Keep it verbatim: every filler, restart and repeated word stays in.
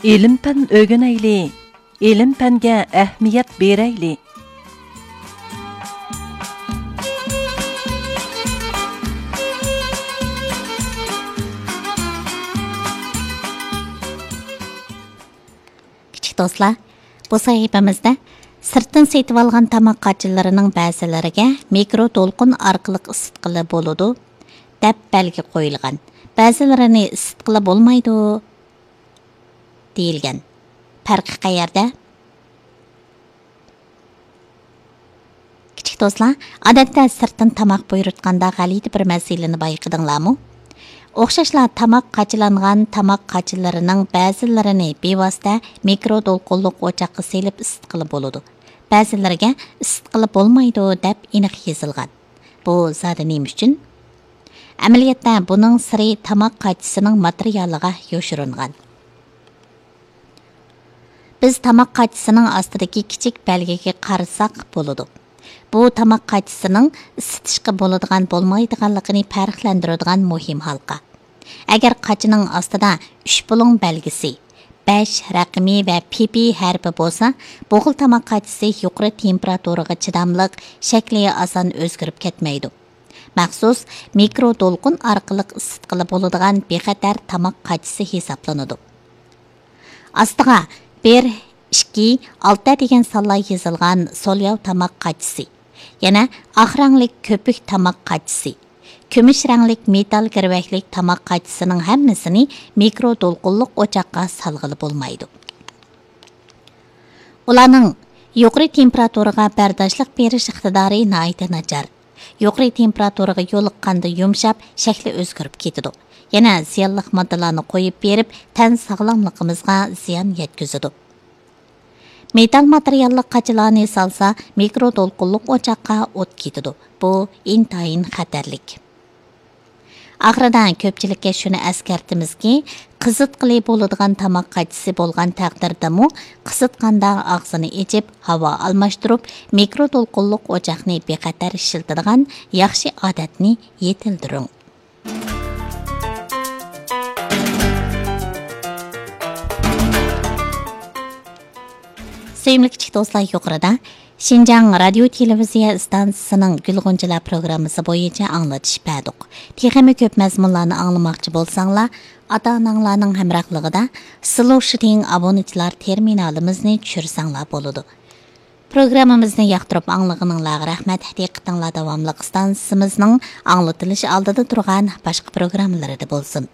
ئىلىم-پەن ئۆگىنەيلى، ئىلىم-پەنگە ئەھمىيەت بېرەيلى. كىچىك دوستلار، بۇ سەھىپىمىزدە سىرتتىن سېتىۋالغان تاماق قاچىلىرىنىڭ بەزىلىرىگە مىكرو دولقۇن ئارقىلىق ئىسسىتقىلى بولىدۇ، دەپ بەلگە قويۇلغان. بەزىلىرىنى ئىسسىتقىلى بولمايدۇ، دېيىلگەن. پەرقى قەيەردە؟ كىچىك دوستلار، ئادەتتە سىرتتىن تاماق بۇيرۇتقاندا غەلىتە بىر مەسىلىنى بايقىدىڭلارمۇ؟ ئوخشاشلا تاماق قاچىلانغان تاماق قاچىلىرىنىڭ بەزىلىرىنى بىۋاسىتە مىكرو دولقۇنلۇق ئوچاققا سېلىپ ئىسسىتقىلى بولىدۇ. بەزىلىرىگە ئىسسىتقىلى بولمايدۇ، دەپ ئېنىق يېزىلغان. بۇ زادى نېمە ئۈچۈن؟ ئەمەلىيەتتە بۇنىڭ سىرى تاماق قاچىسىنىڭ ماتېرىيالىغا يوشۇرۇنغان. بىز تاماق قاچىسىنىڭ ئاستىدىكى كىچىك بەلگىگە قارىساق بولىدۇ. بۇ تاماق قاچىسىنىڭ ئىسسىتىشقا بولىدىغان بولمايدىغانلىقىنى پەرقلەندۈرىدىغان مۇھىم ھالقا. ئەگەر قاچىنىڭ ئاستىدا ئۈچ بۇلۇڭ بەلگىسى، بەش رەقىمى ۋە پىپى ھەرپى بولسا، بۇ خىل تاماق قاچىسى يۇقىرى تېمپېراتۇرىغا چىداملىق، شەكلى ئاسان ئۆزگىرىپ كەتمەيدۇ. مەخسۇس مىكرو دولقۇن ئارقىلىق ئىسسىتقىلى بولىدىغان بىخەتەر تاماق قاچىسى ھېسابلىنىدۇ. ئاستىغا بىر، ئىككى، ئالتە دېگەن سانلار يېزىلغان سولياۋ تاماق قاچىسى، يەنە ئاق رەڭلىك كۆپۈك تاماق قاچىسى، كۈمۈش رەڭلىك مېتال گىرۋەكلىك تاماق قاچىسىنىڭ ھەممىسىنى مىكرو دولقۇنلۇق ئوچاققا سالغىلى بولمايدۇ. ئۇلارنىڭ يۇقىرى تېمپېراتۇرىغا بەرداشلىق بېرىش ئىقتىدارى ناھايىتى ناچار. يۇقىرى تېمپېراتۇرىغا يولۇققاندا يۇمشاپ، شەكلى ئۆزگىرىپ كېتىدۇ. يەنە زىيانلىق ماددىلارنى قويۇپ بېرىپ، تەن ساغلاملىقىمىزغا زىيان يەتكۈزىدۇ. مېتال ماتېرىياللىق قاچىلارنى سالسا، مىكرو دولقۇنلۇق ئوچاققا ئوت كېتىدۇ. بۇ ئىنتايىن خەتەرلىك. ئاخىرىدا كۆپچىلىككە شۇنى ئەسكەرتىمىزكى، قىزىتقىلى بولىدىغان تاماق قاچىسى بولغان تەقدىردىمۇ، قىزىتقاندا ئاغزىنى ئېچىپ، ھاۋا ئالماشتۇرۇپ، مىكرو دولقۇنلۇق ئوچاقنى بىخەتەر ئىشلىتىدىغان ياخشى ئادەتنى يېتىلدۈرۈڭ. سۆيۈملۈك كىچىك دوستلار، يۇقىرىدا شىنجاڭ رادىيو تېلېۋىزىيە ئىستانسىسىنىڭ گۈل غۇنچىلار پروگراممىسى بويىچە ئاڭلىتىش بەردۇق. تېخىمۇ كۆپ مەزمۇنلارنى ئاڭلىماقچى بولساڭلار، ئاتا-ئاناڭلارنىڭ ھەمراھلىقىدا سلۇشىتىڭ ئابۇنىچىلار تېرمىنالىمىزنى چۈشۈرسەڭلار بولىدۇ. پروگراممىمىزنى ياقتۇرۇپ ئاڭلىغىنىڭلارغا رەھمەت. دىققىتىڭلار داۋاملىق ئىستانسىمىزنىڭ ئاڭلىتىلىش ئالدىدا تۇرغان باشقا پروگراممىلىرىدا بولسۇن.